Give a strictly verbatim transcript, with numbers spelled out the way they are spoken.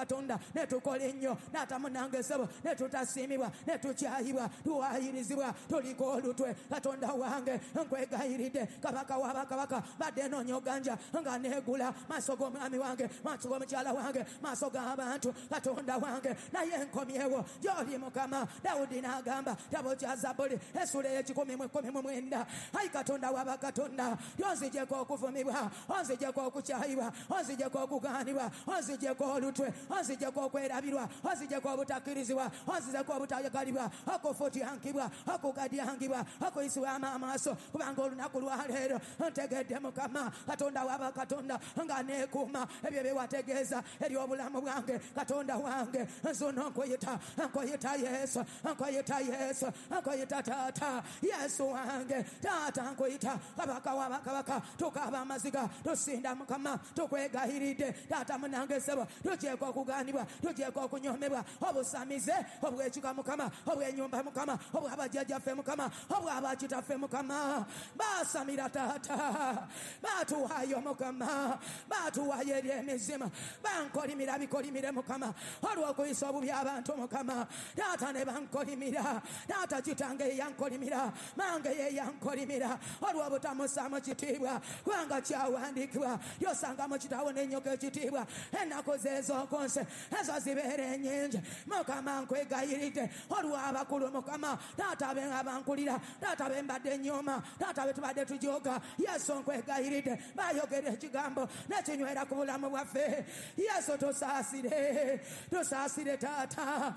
w'abakatonda, ne tukola ennyo taata munange ssebo, ne tutasiimibwa, ne tukyayibwa, tuwayirizibwa, tuliko olutwe. Katonda wange nkwegayiridde, kabaka w'abakabaka, badde noonya oganja nga neegula maaso g'omwami wange, maaso g'omukyala wange, maaso g'abantu. Katonda wange naye nkomyewo gy'oli Mukama. Dawudi n'agamba kitabo kya Zabbuli essula ey'ekikumi mu ekkumi mu mwenda, ayi Katonda w'abakatonda, onzigyeko okuvumibwa, onzigyeko okukyayibwa, onzigyeko okugaanibwa, onzigyeko olutwe, onzigyeko okwerabirwa, onzigyeko obutakkirizibwa, onzigyeko obutayagalibwa, okufutyankibwa, okugadyangibwa, okuyisibwamu amaaso, kubanga olunaku lwaleero ntegedde Mukama Katonda w'abakatonda nga neekuuma ebyo bye wategeeza eri obulamu bwange. Katonda wange nzuno nkuyita, nkuyita Yesu, nkuyita Yesu, nkuyita Taata Yesu wange, Taata nkuyita kabaka w'abakabaka. Tukaaba amaziga, tusinda Mukama, tukwegayiridde taata munange ssebo, tugyeko okugaanibwa, tugyeko okunyomebwa, obusamize obw'ekika Mukama, obw'ennyumba Mukama, obw'abajjajjaffe Mukama, obw'abakitaffe Mukama. Baasamira taata, baatuwaayo Mukama, baatuwaayo eri emizimu, bankolimira bikolimire Mukama, olw'okuyisa obubi abantu Mukama. Taata ne bankolimira, taata kitange ye yankolimira, mange ye yankolimira, olw'obutamussaamu kitiibwa, kubanga kyawandiikibwa lyosanga mu kitabo n'enyoka ekitiibwa, ennaku ze ez'oku nsi ezo zibeera ennyingi. Mukama nkwegayiridde olw'abakulu Mukama, taata be abankulira, taata be mbadde nnyoma, taata be tubadde tujooga. Yesu nkwegayiridde, bayogera ekigambo nekinywera ku bulamu bwaffe. Yesu tusaasire, tusaasire taata.